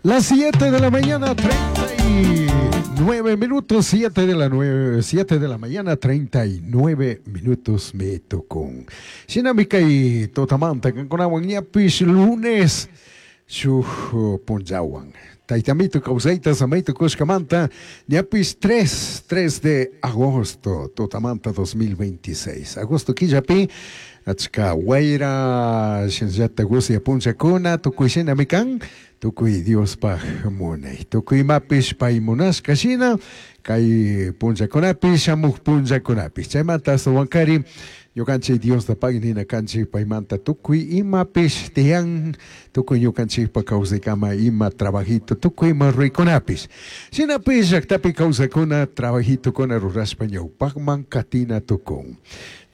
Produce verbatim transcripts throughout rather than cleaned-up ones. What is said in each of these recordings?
Las siete de la mañana, treinta y nueve minutos, siete de la nueve, siete de la mañana, treinta y nueve minutos me tocó. Shinami kay tutamanta kankunawan ñapish lunes shuk punllawan. Taytamito kawsayta samayta kushkamanta ñapish tres, tres de agosto, tutamanta dos mil veintiséis. Agosto killapi achka wayra, shinallata usya punllakuna, tukuy shinami kan, tukuy Diospaj munay. Tukuy imapish pay munashka shina, kay punllakunapi, shamuj punllakunapi. Chaymanta astawankari ñukanchik Diosta pagui nina kanchik paymanta tukuy imapish tiyan, tukuy ñukanchikpa kawsaykama ima trabajito, tukuy ima ruraykunapish. Shinapish llaktapi kawsakuna trabajitokuna rurashpa ñawpakman katina tukun.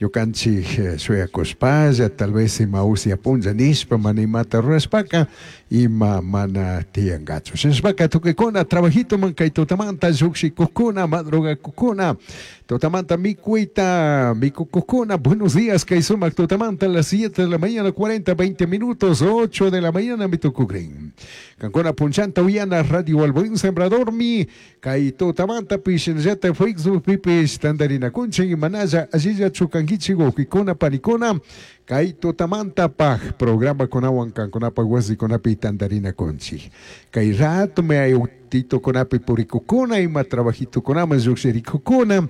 Ñukanchik shuyakushpalla tal vez ima usya punlla nishpa mana imata rurashpaka ima mana tiyankachu. Shinashpaka tukuykuna trabajitoman kay tutamanta llukshikukuna, madrugakukuna, tutamanta mikuyta mikukukuna, buenos días kay sumak tutamanta, las siete de la mañana cuarenta, veinte minutos, ocho de la mañana mi tukukrin. Kankuna punchanta uyana Radio El Buen Sembrador mi kay tutamanta shinallata Facebook pipish tandarinakunchik manalla allilla chukankichik wawkikuna panikuna kay tutamanta paj programa kunawan kankunapaj wasikunapi tandarinakunchik. Kay rato me autitokunapi purikukuna ima trabajitokunaman llukshirikukuna.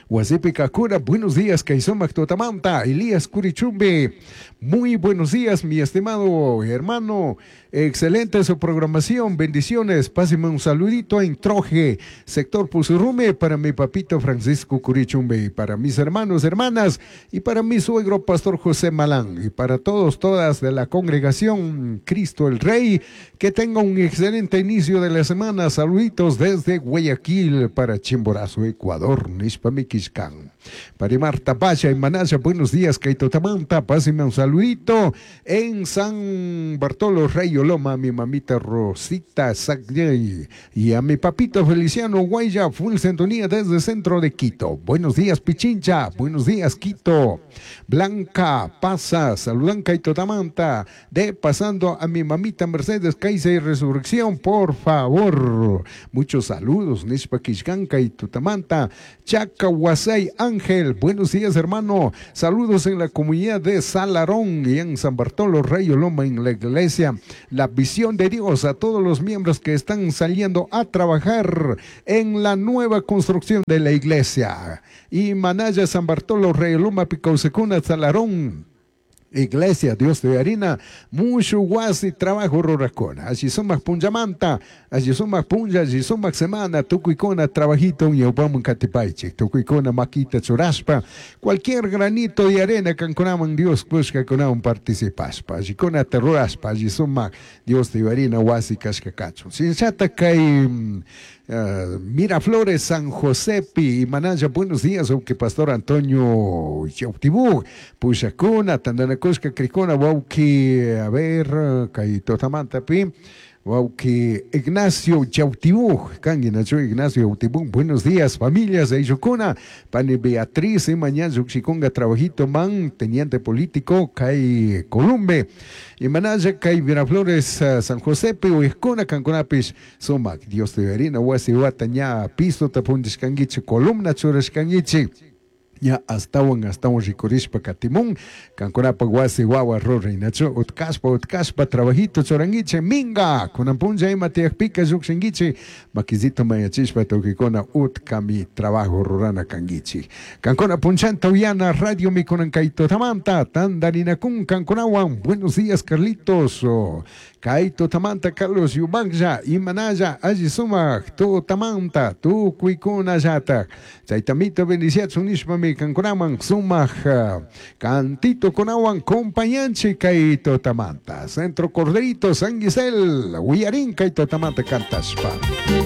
Wasipi kakuna, buenos días, kay sumak tutamanta, Elías Curichumbe. Muy buenos días, mi estimado hermano. Excelente su programación, bendiciones. Páseme un saludito en Troje, sector Pusurrume, para mi papito Francisco Curichumbe, y para mis hermanos, hermanas, y para mi suegro, Pastor José Malán, y para todos, todas de la congregación Cristo el Rey. Que tenga un excelente inicio de la semana. Saluditos desde Guayaquil para Chimborazo, Ecuador. Nishpa Miquishkan. Para Marta Pacha y Manaya, buenos días, kay tutamanta, páseme un saludito en San Bartolo Rey Oloma, a mi mamita Rosita Sagnay y a mi papito Feliciano Guaya, full sintonía desde el centro de Quito. Buenos días, Pichincha, buenos días, Quito. Blanca pasa, saludan kay tutamanta, de pasando a mi mamita Mercedes Caiza y Resurrección, por favor. Muchos saludos, nishpa killkan kay tutamanta, Chaca Huasay Ángel, buenos días, hermano. Saludos en la comunidad de Salarón y en San Bartolo Rey Oloma en la iglesia. La visión de Dios a todos los miembros que están saliendo a trabajar en la nueva construcción de la iglesia. Y Manaya San Bartolo Rey Oloma Picausekuna Salarón. Iglesia Dios de Harina, mucho wasi trabajo rurajkuna. Alli sumak punllamanta, alli sumak punlla, alli sumak semana, tukuykuna trabajito ñawpaman katipaychik, tukuykuna makita churashpa, cualquier granito de arena kankunaman Dios kushkakunawan participashpa, allikuna rurashpa, alli sumak Dios de Harina wasi kashka kachun. Shinallata kay Uh, Miraflores, San Josepi y Manaya, buenos días, aunque Pastor Antonio Yautibú, Pushakuna, Tandanakushka, Krikuna, wawki, a ver, kay tutamanta pi, wawki Ignacio Yautibú, kanki nachu Ignacio Yautibú, buenos días, familias de Yukuna, Pani Beatriz, y mañana Yuxikunga, trabajito man, teniente político, kay Columbe, y Manaya, kay Miraflores, uh, San Josepe, Uiskuna, Kankunapish, Sumak, Dios de Harina, wasi wata ña piso tapundishkankichik, columna churashkankichik, ña astawan astawan rikurishpa katimun kankunapaq wasi wawa ruray nachu utkashpa utkashpa trabajito churankichik minga kunan punlla ima tiyakpika llukshinkichik makisito mañachishpa tukuykuna utkami trabajo rurana kankichik kankuna punchanta uyana radio mikunan kay tutamanta tandarinakun kankunawan. Buenos días, Carlitos. Kay tutamanta Carlos Yubaklla imanalla alli sumak tutamanta tukuykunallatak chaytamito bendiciachun nishpami kankunaman sumak cantito kunawan compañanchik kay tutamanta. Centro Corderito San Gisel uyarin kay tutamanta kantashpa.